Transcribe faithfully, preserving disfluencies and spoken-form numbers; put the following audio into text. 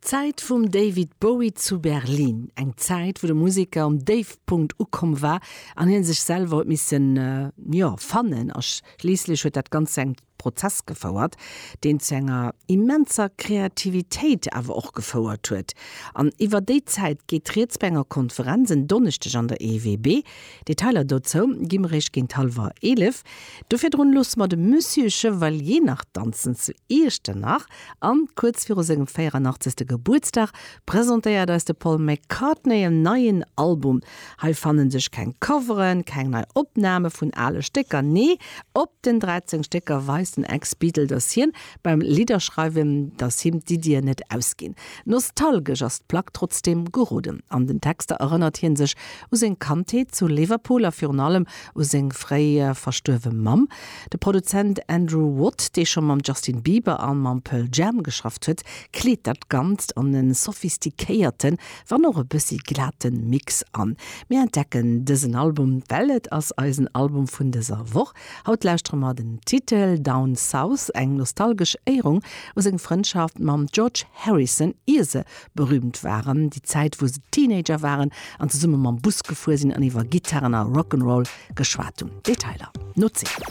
D'Zäit vum David Bowie zu Berlin, eng Zäit wou de Museker um Déifpunkt ukomm war an hien sech selwer huet missen, jo, fannen a schliisslech huet dat Ganzt zu engem Prozess gefouert, deen zu enger immenser Kreativitéit awer och gefouert huet. An iwwer déi Zäit geet rieds bei enger Konferenz en Donneschdeg an der EWB. Detailer dozou gi mer eréischt géint hallwer eelef. Do virdrun loosse mer de Monsieur Chevalier nach danzen zu Iechternach. An kuerz viru sengem véieranachtzeegste Gebuertsdag presentéiert eis de Paul McCartney en neien Album. Hei fannen sech keng Coveren, keng nei Opname vun ale Stécker, nee, op den dräizéng Stécker weist den Ex-Beatle, dass hien beim Lidderschreiwen, dass him d'Iddien net ausginn. Nostalgesch ass d'Plack trotzdeem geroden. An den Texter erënnert hien sech u seng Kandheet zu Liverpool a virun allem u seng fréi verstuerwe Mamm. De Produzent Andrew Watt, dee scho mam Justin Bieber a mam Pearl Jam geschafft huet, kleet dat Ganzt an e sophistiquéierten, wann och e bëssi glate Mix an. Mir entdecken dësen Album, well et ass eisen Album vun dëser Woch. Haut lauschtere mer den Titel Down South, eng nostalgesch Éierung u seng Frëndschaft mam George Harrison, ier se berüümt waren, déi Zäit wou se Teenager waren an zesumme mam Bus gefuer sinn an iwwer Gittaren a Rock'n'Roll geschwat hunn. Detailer no zéng.